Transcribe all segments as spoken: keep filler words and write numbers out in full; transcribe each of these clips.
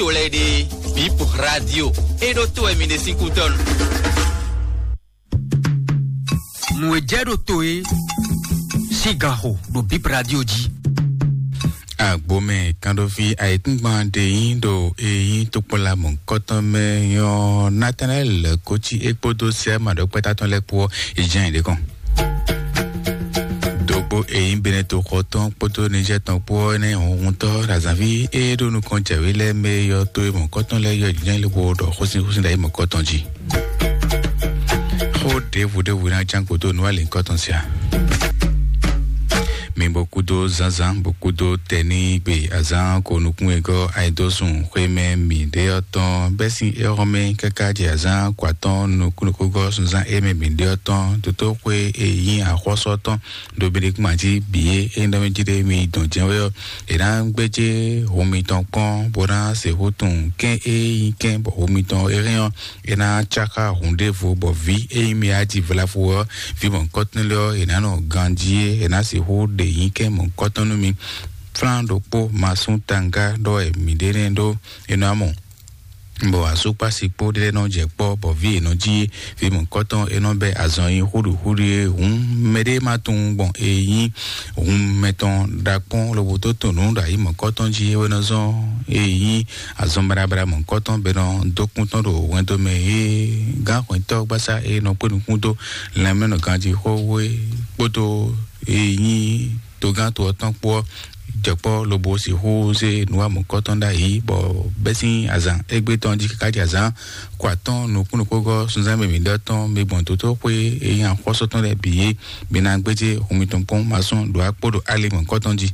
to lɛ́ɛ ɖe, Bip Radio, é ɖó to wɛ mi ɖe sín kútɔ́nu. Nǔ e jɛ ɖo to e sín ganxo ɖo Bip Radio jí. Agbomɛ kanɖovi ayikúngban ɖe nyí ɖo e nyí tokpɔnla mɔ̌hunkɔtɔn mɛ nyɔ́ Nathanael Kotsi é kpódó Sɛma ɖɔkpɛ́tá tɔn lɛ́ɛ kpó ɔ́, è jɛ́n yě ɖě kɔn. Dogbo e nyí Beneto xɔ tɔn kpódó Nizɛ́ tɔn kpó ɔ́ nɛ́ hunhuntɔ́ ɖo azǎnví e ɖo nukɔn jɛ̌wé lɛ́ɛ mɛ yɔ to e mɔ̌hunkɔtɔn lɛ́ɛ yɔ jínjɔ́n lixo ɖɔ xósin xósin ɖo ayǐ mɔ̌hunkɔtɔn jí. Xó ɖěvo ɖěvo ná ján gǒ dó nǔ alǐnkɔtɔn sia. Mi bo kúdó zánzán, bo kúdó tɛnígbe azán ko nukún e gɔ́ ayidósun xwémɛ mǐɖé ɔ́ tɔn bɛ́ sín éhɔ́mɛ káká jɛ azán ko atɔ́ɔ́n nukúnnukún gɔ́ sunzán émɛ mǐɖé ɔ́ tɔn, tótóxwé e nyí axɔ́sú ɔ́ tɔn, ɖo mi ɖi kún jí bǐ é é nɔ jí ɖé mi dɔn jɛ́n wɛ ɔ́, è nǎ gbéjé hun mitɔn kpɔ́n bó ná sixú tunwun kɛ́n e nyí kɛ́n bɔ hun mitɔn é hɛn ɔ́, é ná cáká hun ɖěvo bɔ vǐ e nyí mi aji vlavo ɔ́, vǐ mɔ̌hunkɔtɔn lɛ́ɛ ɔ́, è nǎ nɔ ganjí é, è nǎ sixú ɖe nyí kɛ́n mɔ̌hunkɔtɔn nú mi. Flán ɖokpó masún tanga ɖɔ wɛ mǐ ɖe nɛ́ ɖó é nɔ amɔ. Bɔ asúkpási kpó ɖé nɔ jɛ kpɔ́ bɔ vǐ yěnɔ jí vǐ mɔ̌hunkɔtɔn e nɔ bɛ azɔn nyi xúɖuxúɖu é hǔn, mɛɖé ma tunwun gbɔn e nyí hun mɛtɔn ɖakpɔ́n lobo tó tun nǔ ɖo ayǐ mɔ̌hunkɔtɔn jí é wɛ nɔ zɔ́n e nyí azɔn baɖabaɖa mɔ̌hunkɔtɔn bɛ nɔ dó kún tɔn ɖo hwɛndo mɛ é gán hwɛntɔ́ gbásá e nɔ kpé nukún dó lanmɛnɔ ganjí xó é kpódó e nyí togán to ɔ́ tɔn kpó ɔ́ jɛ kpɔ́ lobo sixú zé nǔ wa mɔ̌hunkɔtɔn ɖ'ayǐ bɔ bɛ́ sín azǎn égbé tɔn jí káká jɛ azǎn ko atɔ́ɔ́n nukúnnukúgɔ́ sunzán mǐmí ɖɔ tɔn mi gbɔn tótóxwé e nyí axɔ́sú tɔn lɛ́ɛ bǐ é mi ná gbéjé hun mitɔn kpɔ́n masɔ́n ɖo akpó ɖo ali mɔ̌hunkɔtɔn jí.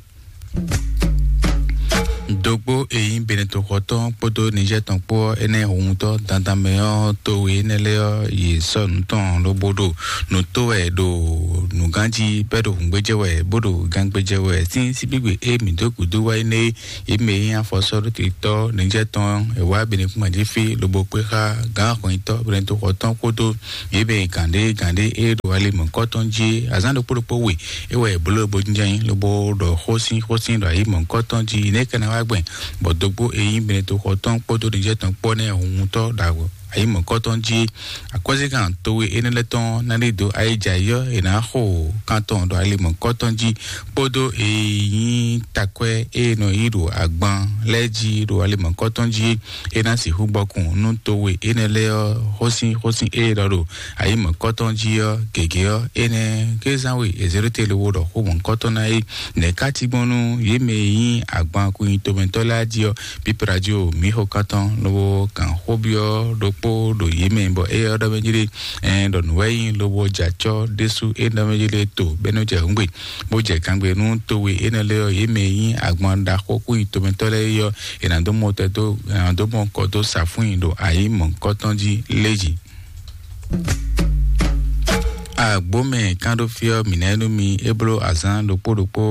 Dogbo e nyí Beneto-xɔtɔn kpódó Nizɛ́ tɔn kpó ɔ́, énɛ́ hunhuntɔ́ dandan mɛ ɔ́, towe énɛ́ lɛ́ɛ ɔ́, yě sɔ́ nǔ tɔn lobo ɖo nǔ tó wɛ ɖo nǔgán jí, bɔ é ɖo hǔngbéjɛ wɛ, bó ɖo gángbéjɛ wɛ. Sín síbígbe e mǐ dó gǔdo wá énɛ́ é, yě mɛ e nyí afɔsɔ́ɖótitɔ́ Nizɛ́ tɔn ɔ́, è wá Benekúnma jí fí lobo kpé xá gǎn hɔnyitɔ́ Beneto-xɔtɔn kpódó yě mɛ gǎn ɖé gǎn ɖé e ɖo ali mɔ̌hunkɔtɔn jí é. Azǎn ɖokpó ɖokpó we é wɛ è bló lobo jínjɔ́n ayǐ, lobo ɖɔ xó sín xó sín ɖo ayǐ mɔ̌hunkɔtɔn jí. Nɛ̌ ka ná wá gbɛn bɔ dógbó e nyí Beneto-xɔtɔn kpódó Nizɛ́ tɔn kpó ɔ́ nɛ́ hunhuntɔ́ ɖo ayǐ mɔ̌hunkɔtɔn jí é. Akwɛ́zíkan towe énɛ́ lɛ́ɛ tɔn ná ɖi dǒ ayǐjayǐ ɔ́, è nǎ xo kan tɔn ɖo ali mɔ̌hunkɔtɔn jí, kpódó e nyí takwɛ́ e nɔ yí ɖo agban lɛ́ɛ jí ɖo ali mɔ̌hunkɔtɔn jí é. É ná sixú gbɔkun nú towe énɛ́ lɛ́ɛ ɔ́, xósin xósin e ɖɔ ɖo ayǐ mɔ̌hunkɔtɔn jí ɔ́ gěgé ɔ́, énɛ́ kézán we è zě ɖó te lobo ɖɔ xó mɔ̌hunkɔtɔn ná é. Nɛ̌ ká cí gbɔn nú yě mɛ e nyí agban kun nyi tomɛtɔ́ lɛ́ɛ jí ɔ́? Bíp Radio mǐ xo kan tɔn lobo kan xó byɔ́ ɖokpó ɖo yě mɛ bɔ éyɛ́ ɔ́ ɖɔ mɛ jí ɖe, ɛn ɖɔ nǔ wɛ nyí lobo jɛ acɔ́ ɖésú é ɖɔ mɛ jí ɖe to bɛ́ nɔ jɛ hǔngbe, bó jɛ kangbe nú towe énɛ́ lɛ́ɛ ɔ́, yě mɛ e nyí agban ɖaxó kú nyi tomɛtɔ́ lɛ́ɛ é ɔ́, è nǎ dó mɔ tɛ dó è nǎ dó mɔ kɔ dó sa fún nyi ɖo ayǐ mɔ̌hunkɔtɔn jí lé jí. Agbǒmɛ kánɖófí ɔ́, mǐ ná é nú mi é bló azǎn ɖokpó ɖokpó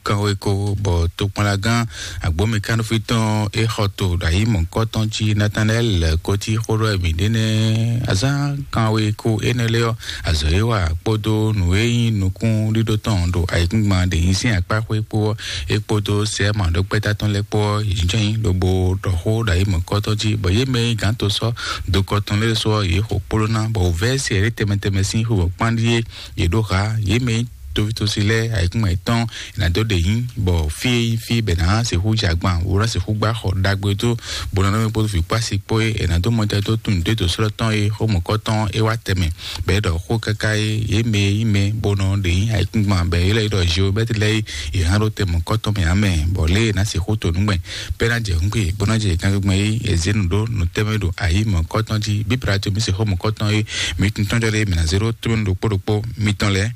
kanwe ko bɔ tokpɔnlagán agbǒmɛ kánɖófí tɔn é xɔ to ɖo ayǐ mɔ̌hunkɔtɔn jí Natanɛ́li lɛ̌ kó cí xó ɖɔ mǐ ɖe nɛ́. Azǎn kanwe ko énɛ́ lɛ́ɛ ɔ́, azɔ̌ e wa kpódó nǔ e nyí nukúnɖíɖó tɔn ɖo ayǐkúngban ɖě nyí sín akpá xwé kpó ɔ́, é kpódó sɛ́ mǎɖókpɛ́tá tɔn lɛ́ɛ kpó ɔ́, yě jɛ́n yí lobo ɖɔ xó ɖo ayǐ mɔ̌hunkɔtɔn jí, bɔ yě mɛ e nyí gǎn to sɔ́ dokɔ tɔn lɛ́ɛ ɖésú ɔ́, yě xo kpló ná, bɔ wǔvɛ́ se ɖé tɛnmɛ tɛnmɛ sín xwebɔ̌ kpán ɖíe yě ɖó hǎ. Yě mɛ e nyí toví tosi lɛ́ɛ ayǐkúngban yětɔn è nǎ dó ɖe nyí, bɔ fí e nyí fí bɛ nǎ sixú jɛ agban, bó ná sixú gbá xɔ ɖagbe dó, bó ná nɔ́ mɛ kpódó vǐ kpó asi kpó e è nǎ dó mɔtɛn dó tunwun dó dǒ slɔ́ tɔn e xó mɔ̌kɔ́ tɔn é wá tɛnmɛ, bɔ é ɖɔ xó káká é, yě mɛ e nyí mɛ bó nɔ ɖe nyí ayǐkúngban bɛ é lɛ́ ɖɔ Zeomɛ́ti lɛ́ɛ é, yě hán ɖó tɛn mɔ̌kɔ́ tɔn mɛ ǎ mɛ, bɔ lě e è nǎ sixú to nǔgbɛn bɔ é ná jɛ hǔngbe, bó ná jɛ kangbégbɛn é, è zě nǔ ɖó nǔ tɛnmɛ ɖo ayǐ mɔ̌kɔ́ tɔn jí. Bíbla to mǐ se xó mɔ̌kɔ́ tɔn é, mǐ tun tɔn jɔ lé mǐ ná zé ɖó tómɛnu ɖokpó ɖokpó mitɔn lɛ́ɛ.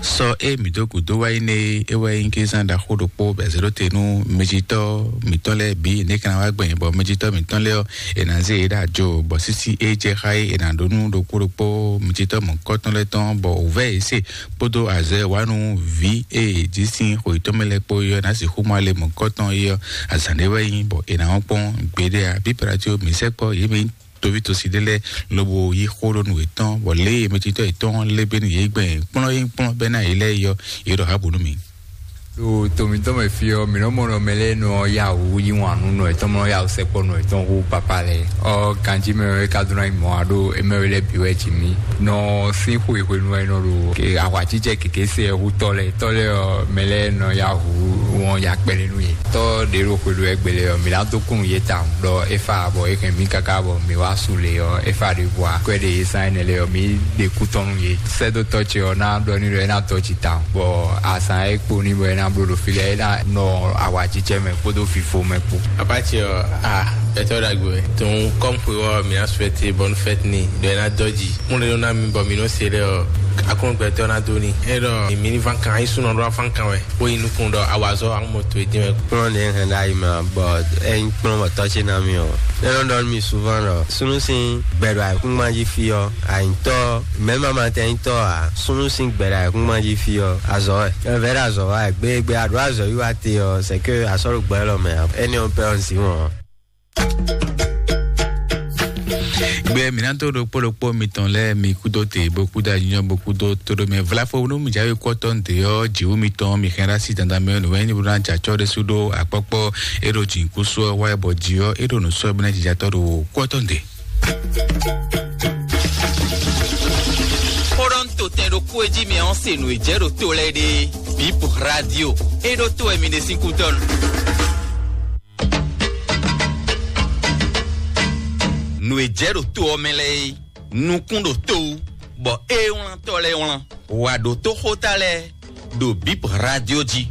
Sɔ e mǐ dó gǔdo wá yi nɛ é, é wɛ nyí kézán ɖaxó ɖokpó bɔ è zě ɖó te nú mɛjitɔ́ mǐtɔn lɛ́ɛ bǐ, nɛ̌ ka ná wá gbɛn bɔ mɛjitɔ́ mǐtɔn lɛ́ɛ ɔ́, è nǎ zé yě ɖo ajo, bɔ sísí e jɛ xá é, è nǎ ɖó nú ɖokpó ɖokpó mɛjitɔ́ mɔ̌kɔtɔn lɛ́ɛ tɔn, bɔ wǔvɛ́ yě se kpódó azɔ̌ e wá nú vǐ e è jí sín xwe yětɔn mɛ lɛ́ɛ kpó é ɔ́, ná sixú mɔ ale mɔ̌kɔtɔn é ɔ́, azǎn ɖé wɛ nyí, bɔ è nǎ wɔ́n kpɔ́n gbeɖé ǎ. Bíbla có mǐ sɛkpɔ́ yě mɛ nyí toví tosi ɖé lɛ́ɛ lobo yí xó ɖó nú yětɔn, bɔ lě e mɛjitɔ́ yětɔn lé gbé nú yě gbɛn kplɔ́n e nyí kplɔ́n bɛ́ ná yě lɛ́ɛ é ɔ́, yě ɖɔ hǎbǔ nú mì. Ɖo to mǐtɔn mɛ fí ɔ́, mǐ nɔ mɔ nɔ mɛ lɛ́ɛ nɔ yá wǔ yí wǎn nú nɔ yětɔn, mɔ yá wǔ sɛkpɔ́ nɔ yětɔn hú papá lɛ́ɛ. Ɔ, ganjí mɛ wɛ ka dó ná nyí mɔ̌ ǎ ɖo émɛ wɛ lɛ́ɛ bǐ wɛ jí mì. Nɔ sín xwe hwenu wɛ nɔ ɖo ke-, ahwajíjɛ kěké se ɛ hú tɔ́ lɛ́ɛ. Tɔ́ lɛ́ɛ ɔ́, mɛ lɛ́ɛ nɔ yá hǔ wɔn ya kpɛlɛ nú yě. Tɔ́ ɖě ɖo xwe ɖo ɛgbɛ lɛ́ɛ ɔ́, mǐ ná dó kún yě tawun ɖɔ é fa bɔ é hɛn mǐ káká bɔ mǐ wá su lě ɔ́, é fa ɖě bua kwɛ ɖě e zán énɛ́ lɛ́ɛ ɔ́, mǐ ɖe kú tɔn nú yě. Sɛ́dótɔ́ ce ɔ́ ná ɖɔ n'i ɖɔ é ná dɔ́ jǐ tawun, bɔ azǎn e kpo n'i bɔ é ná bló ɖo fí lɛ́ɛ, é ná nɔ awǎjijɛ mɛ kpódó vifo mɛ kpó. Papa ce ɔ́, a, gbɛtɔ́ ɖagbe wɛ. Tɔn kɔ́m xwe ɔ́, mǐ ná suɛte bɔnu fɛ́t ni ɖɔ é ná dɔ́ jǐ. Kún ɖe nɔ ná mi bɔ mǐ nɔ se lɛ ɔ́, akɔ́n gbɛtɔ́ ná dó ni. É ɖɔ mǐ ní ván kan, ayísúnɔ ɖó afán kan wɛ, bó yi nukún ɖɔ awazɔ́ amɔto e dín wɛ. Kplɔ́n ɖě hɛn ɖ'ayǐ mɛ ǎ, bɔ é nyí kplɔ́n bɔ tɔ́ ce ná mì ɔ́. É nɔ ɖɔ nú mì souvent ɖɔ súnnu sín gbɛ ɖo ayǐkúngban jí fí ɔ́, ayǐtɔ́, mɛ̌ ma ma tɛn nyí tɔ́ ǎ. Súnnu sín gbɛ ɖo ayǐkúngban jí fí ɔ́, azɔ̌ wɛ. Ɛvɛ ɖo azɔ̌ wa wɛ. Gbe gbe a ɖǒ azɔ̌ yí wá te ɔ́, c'est que a sɔ́ ɖo gbɛ élɔ́ mɛ ǎ. Énɛ́ ɔ́ pɛ́ ɔ́ un zǐn wɔn ɔ́. Gbé mǐ ná dó ɖokpó ɖokpó mitɔn lɛ́ɛ mi kúdó te bó kúdó anyɔ bó kúdó tóɖó mɛ vlafo nú mi jáwé kɔ́tɔ́ nǔɖé ɔ́, jǐwú mitɔn mi xɛn ɖó así dandan mɛ nǔ wɛ ní bó ná jɛ acɔ́ ɖésú ɖó akpɔ́kpɔ́ é ɖo jǐnukúsú ɔ́ wá bɔ jí ɔ́ é ɖo nǔ sɔ́ bó ná jijatɔ́ ɖo kɔ́tɔ́ nǔɖé. Xó ɖɔ un to tɛn ɖokpó e jí mi ɔ́ se nǔ e jɛ ɖo to lɛ́ɛ ɖe. Bip Radio, é ɖó to wɛ mi ɖe sín kútɔ́ nu. Nǔ e jɛ ɖo to ɔ́ mɛ lɛ́ɛ é, nukún ɖo to wú, bɔ é wlántɔ́ lɛ́ɛ wlán. Wǎ ɖótó xóta lɛ́ɛ ɖo Bip Radio jí.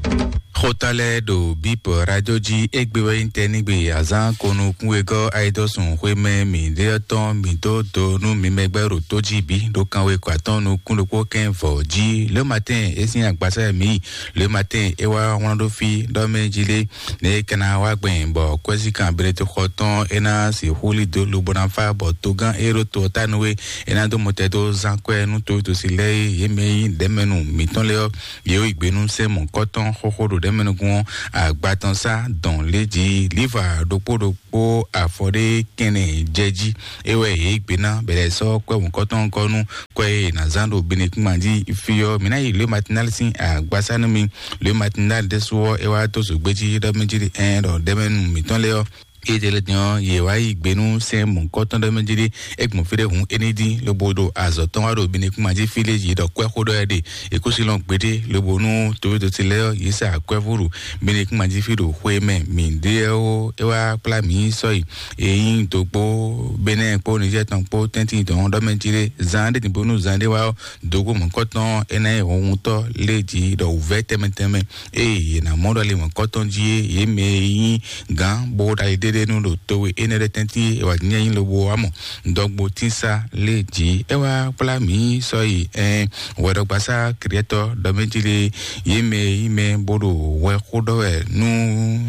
Xóta lɛ́ɛ ɖo Bip Radio jí, égbé wɛ nyí tɛnígbe azán konukún wegɔ́ ayidɔ́sùn xwémɛ mǐɖée ɔ́ tɔn mǐ dó do nú mi mɛgbɛ́ ɖo tó jí bǐ ɖo kanwe kɔ atɔ́ɔ́n nukún ɖokpó kɛ́n vɔ̌ jí. Le matin é sín agbasá e mǐ yi. Le matin é wá wlán ɖó fí ɖɔ mɛ jí lé. Ne é ka ná wá gbɛn bɔ kwɛ́zíkan Benedikto xɔ tɔn é ná sixú lí dó lobo ná fá bɔ togán e ɖo to ɔ́ ta nú é, é ná dó mɔtɛn dó zán kwɛ́ nú towítɔ́sí lɛ́ɛ e yě mɛ nyí ɖɛ̌mɛnu mǐtɔn lɛ́ɛ ɔ́, yě yi gbe nú sɛ́n mɔ̌kɔ́tɔn xóxó ɖo ɖɛ̌mɛnu gún ɔ́, agba tɔn sá dɔn lě jí líva ɖokpó ɖokpó afɔ ɖé kɛnɛ jɛ jí. É wɛ yě yi gbe ná bɛlɛ sɔ́ kwɛ́ mɔ̌kɔ́tɔn gɔ́ nú kwɛ́ e è nǎ zán ɖo Benedikto jí fí ɔ́. Mǐ ná yi Le Matinal sín agbasá nú mi. Le Matinal ɖésú ɔ́, é wá dó zǒgbé jí ɖɔ mɛ jí ɖi ɛn ɖɔ ɖɛ̌mɛnu mǐtɔn lɛ́ɛ ɔ́, édɛlɛ din ɔ́, yě wá yi gbe nú sɛ́n mɔ̌hunkɔtɔn ɖɔ mɛ jí ɖi é gbɔn fí ɖé hun é ní dín lobo ɖo azɔ̌ tɔn wá ɖo Benedikto jí fí lé jí ɖɔ kwɛ́ xó ɖɔ wɛ ɖe. È kó sí lɔn gbeɖé lobo nú towédoti lɛ́ɛ ɔ́, yě sa kwɛ́ fó ɖo Benedikto jí fí ɖo xwe mɛ mǐ ɖe ɔ́, é wá kplá mǐ sɔ́yi. È nyí dǒgbó Benɛ́ɛ kpó Nizɛ́ɛ tɔn kpó tɛ́ntin dɔn ɖɔ mɛ jí ɖe zan ɖé din bónú zan ɖé wá ɔ́, dǒgbó mɔ̌hunkɔtɔn é ná nyí hunhuntɔ́ lé jí ɖɔ wǔvɛ́ tɛnmɛ tɛnmɛ. Ée yě ná mɔ ɖɔ le mɔ̌hunkɔtɔn jí é, yě mɛ e nyí gǎn bó ɖo ali ɖéɖé nú ɖo towe énɛ́ lɛ́ɛ tɛ́ntin é wǎ nyí lobo wá mɔ dɔgbo tínsá lé jí. É wá kplá mǐ sɔ́ yi ɛn hwɛɖɔgbasá Kritɔ ɖɔ mɛ jí lé, yě mɛ e nyí mɛ bó ɖo hwɛ xó ɖɔ wɛ nú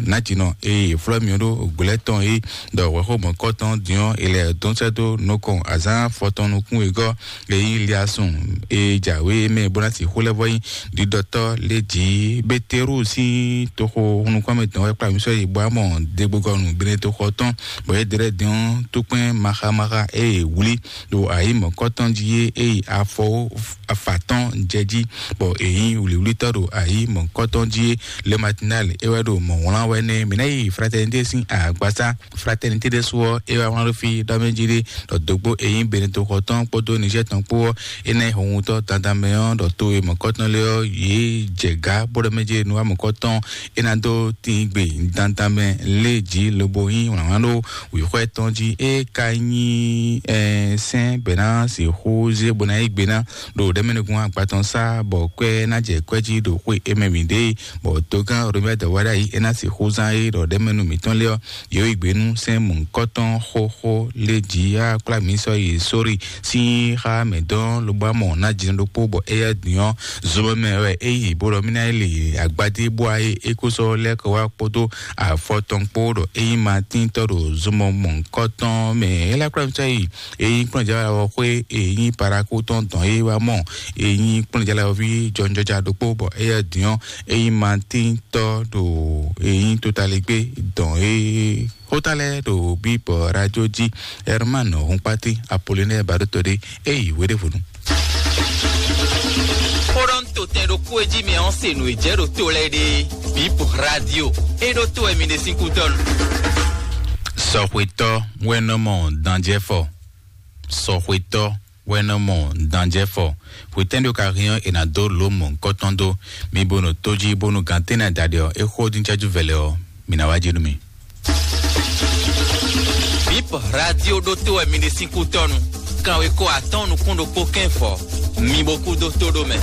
nǎjínɔ e è flɔ́ mì ɖó gblɛ̌ tɔn é, ɖɔ hwɛxó mɔ̌kɔtɔn din ɔ́, è lɛ dɔn sɛ́ dó nukɔn azǎn afɔtɔn nukún wegɔ́ e nyí Liasun e jǎwe mɛ bó ná sixú lɛ́ vɔ nyí ɖiɖɔtɔ́ lé jǐ Beteru sín toxo nukɔn mɛ tɔn wɛ kplá mǐ sɔ́ yi bɔ amɔ degbogɔnu Beneto xɔ tɔn, bɔ é ɖe lɛ́ din ɔ́, tókpɛn maxamaxa e è wlí ɖo ayǐ mɔ̌kɔtɔn jí é, e yi afɔ afatɔn jɛ jí, bɔ è nyí wlǐwlítɔ́ ɖo ayǐ mɔ̌kɔtɔn jí é. Le Matinal é wɛ ɖo mɔ̌ wlán wɛ nɛ́. Mǐ ná yi Fraternité sín agbasá Fraternité ɖésú ɔ́, é wá wlán ɖó fí ɖɔ mɛ jí ɖé, ɖɔ dǒgbó e nyí Beneto xɔ tɔn kpódó Nizɛ́ɛ tɔn kpó ɔ́, é ná nyí hɔnhutɔ́ dandan mɛ ɔ́, ɖɔ to e mɔ̌kɔtɔn lé ɔ́, yě jɛ gǎ bó ɖɔ mɛ jí nú wá mɔ̌kɔtɔn, é ná dó tín gbe dandan mɛ lé jí lobo nyí wlǎnwlán ɖó wǐxwɛ́ tɔn jí. É ka nyí ɛɛ sɛ́n bɛ̌ ná sixú zé bó ná yí gbe ná ɖo ɖɛ̌mɛnukún agba tɔn sá, bɔ kwɛ́ ná jɛ kwɛ́ jí ɖo xwé é mɛ mǐ ɖe, bɔ dogán Romɛ dɔ̌wá ɖ'ayǐ é ná sixú zán é ɖɔ ɖɛ̌mɛnu mǐtɔn lé ɔ́, yě yi gbe nú sɛ́n mɔ̌hunkɔtɔn xóxó lé jí á kplá mǐ sɔ́ yi sórí sín xá mɛ dɔn lobo amɔ ná jǐnɔ ɖokpó, bɔ éyɛ́ din ɔ́, zomɛ mɛ wɛ é yi bó ɖɔ mí ná yi lě agbadé bó wá é é kó sɔ́ lɛ́ kɔ wá kpódó afɔ tɔn kpó ɖɔ é nyí Matín tɔ́ ɖo zomɔ mɔ̌hunkɔtɔn mɛ. É lɛ́ kplá mǐ sɔ́ yi é nyí kplɔ́njǎwe xwé é nyí Parakú tɔn dɔn é wá mɔ é nyí kplɔ́njǎwe ví jɔnjɔja ɖokpó, bɔ éyɛ́ din ɔ́, é nyí Matín tɔ́ ɖo èyí tótalɛgbé dɔn é xóta lɛ́ɛ ɖo bíbɔ radio jí. Herman Hunkpati Apollinaire Baɖótɔɖé é yi wéɖévonu. Xó ɖɔ un to Tɛn ɖokpó e jí mi ɔ́ se nǔ e jɛ ɖo to lɛ́ɛ ɖe. Bip radio. E ɖo to wɛ mi ɖe sín kútɔ́nu. Sɔxwetɔ́ wɛ nɔ mɔ danjɛfɔ. Sɔxwetɔ́ wɛ nɔ mɔ danjɛfɔ. Hwetɛ́n ɖo ka hɛn ɔ́, è nǎ dó lǒ mɔ̌hunkɔtɔn dó. Mi bo nɔ tó jí bónú gantɛ́nɛ adaɖé ɔ́, é xó dín cɛ́jú vɛlɛ ɔ́, mi ná wá jí nú mi. Bip radio ɖo to wɛ mi ɖe sín kútɔ́nu. Kanwekó atɔ́ɔ́n nukún ɖokpó kɛ́n fɔ. Mi bo kú dó tó ɖó mɛ.